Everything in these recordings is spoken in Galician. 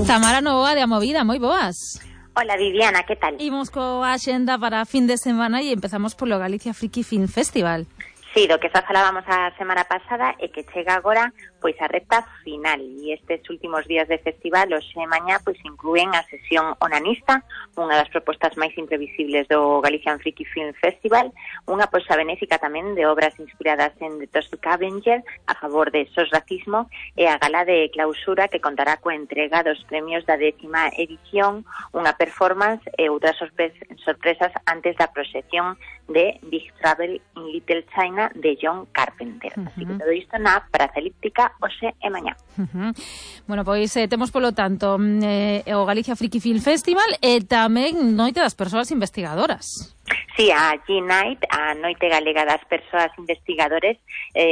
Tamara Novoa de Amovida, moi boas. Hola Viviana, que tal? Imos coa axenda para fin de semana e empezamos polo Galicia Friki Film Festival. Sí, do que xa falábamos a semana pasada e que chega agora pois a recta final e estes últimos días de festival hoxe e mañá pois inclúen a sesión onanista, unha das propostas máis imprevisibles do Galician Friki Film Festival, unha poxa benéfica tamén de obras inspiradas en The Toxic Avenger a favor de SOS Racismo e a gala de clausura que contará coa entrega dos premios da 10ª edición, unha performance e outras sorpresas antes da proxección de Big Trouble in Little China de John Carpenter. Así que todo isto na Praza Elíptica hoxe e mañá. Bueno, pois temos polo tanto o Galicia Friki Film Festival e tamén Noite das Persoas Investigadoras. Sí, a G-Night, a Noite Galega das Persoas Investigadores,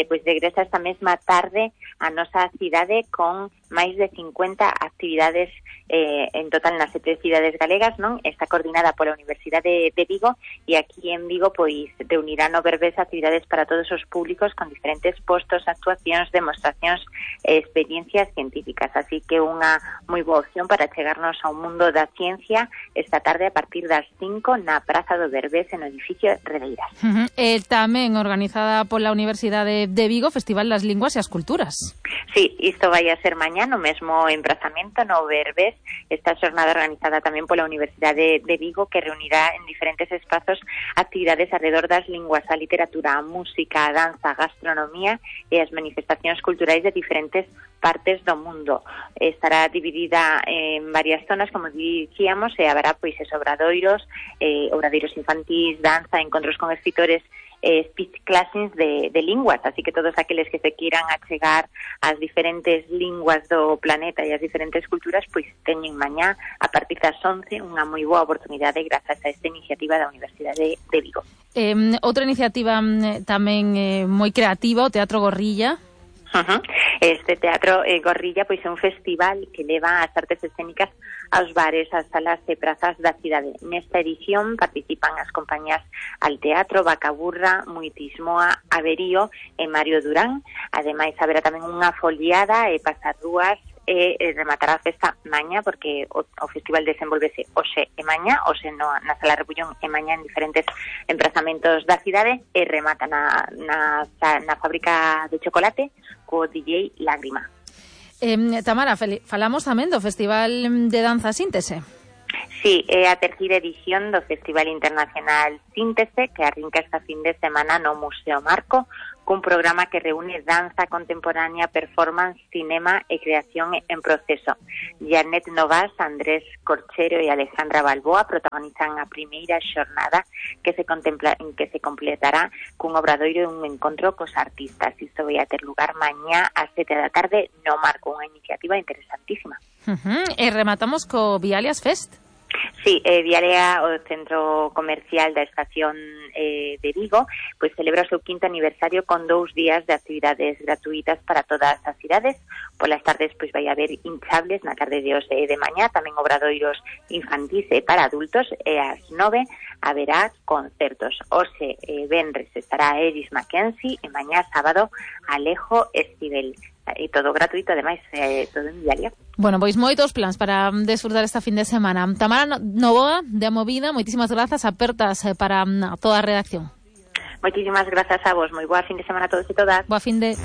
pois regresa esta mesma tarde a nosa cidade con máis de 50 actividades en total nas 7 cidades galegas, non? Está coordinada pola Universidade de Vigo e aquí en Vigo pois reunirá no Berbés actividades para todos os públicos con diferentes postos, actuacións, demostracións e experiencias científicas. Así que unha moi boa opción para chegarnos ao mundo da ciencia esta tarde a partir das 5 na Praza do Berbés no edificio Redeiras. Tamén organizada pola Universidade de Vigo, Festival das Linguas e as Culturas. Sí, isto vai a ser mañá no mesmo emprazamento no Berbés, esta xornada organizada tamén pola Universidade de Vigo que reunirá en diferentes espazos actividades alrededor das linguas, a literatura, a música, a danza, a gastronomía e as manifestacións culturais de diferentes partes do mundo. Estará dividida en varias zonas, como dicíamos, e haberá pois obradoiros infantís, danza, encontros con escritores, speech classes de linguas, así que todos aqueles que se queiran achegar ás diferentes linguas do planeta e ás diferentes culturas, pois teñen mañá a partir das 11 unha moi boa oportunidade grazas a esta iniciativa da Universidade de Vigo. Outra iniciativa tamén moi creativa, o Teatro Gorrilla. Este Teatro Gorrilla pois é un festival que leva as artes escénicas aos bares, ás salas e prazas da cidade. Nesta edición participan as compañías Al Teatro, Bacaburra, Muitismoa, Averío e Mario Durán. Ademais, haberá tamén unha foliada e pasarrúas e rematará a festa mañá, porque o festival desenvolvese hoxe e mañá, hoxe na Sala Rebullón e mañá en diferentes emprazamentos da cidade e remata na fábrica de chocolate co DJ Lágrima. Tamara, falamos tamén do Festival de Danza Síntese. Sí, é a terceira edición do Festival Internacional Síntese que arrinca esta fin de semana no Museo Marco cun programa que reúne danza contemporánea, performance, cinema e creación en proceso. Janet Novas, Andrés Corchero e Alejandra Balboa protagonizan a primeira xornada que se completará cun obradoiro e un encontro cos artistas. Isto vai a ter lugar mañá ás 7 da tarde no Marco, unha iniciativa interesantísima. E rematamos co Vialias Fest. Sí, Vialea, o centro comercial da estación de Vigo, pois celebra o seu 5º aniversario con 2 días de actividades gratuitas para todas as cidades. Polas tardes pois vai haber hinchables na tarde de hoxe e de mañá, tamén obradoiros infantís e para adultos, e ás 9 haberá concertos. Hoxe venres estará Eris Mackenzie e mañá sábado Alejo Estivell. E todo gratuito, ademais, todo en Vialia. Bueno, pois moitos plans para desfrutar esta fin de semana. Tamara Novoa, de Amovida, moitísimas grazas, apertas para toda a redacción. Moitísimas grazas a vos, moi boa fin de semana a todos e todas. Boa fin de...